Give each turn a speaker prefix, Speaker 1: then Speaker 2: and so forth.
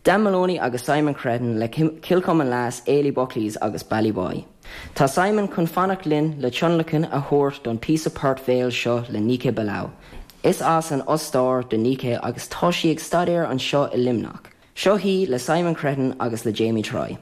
Speaker 1: Dan Moloney agus Simon Cretin le Kilcommon Lass, Ailey Buckley's agus Ballyboy. Tá Simon chun fanacht linn le tionlacan a thabhairt don píosa port bhéil seo le Niké Bilau. Is as an Ostáir do Niké agus tá sí ag staidéar anseo i Luimneach. Seo í le Simon Cretin agus le Jamie Troy.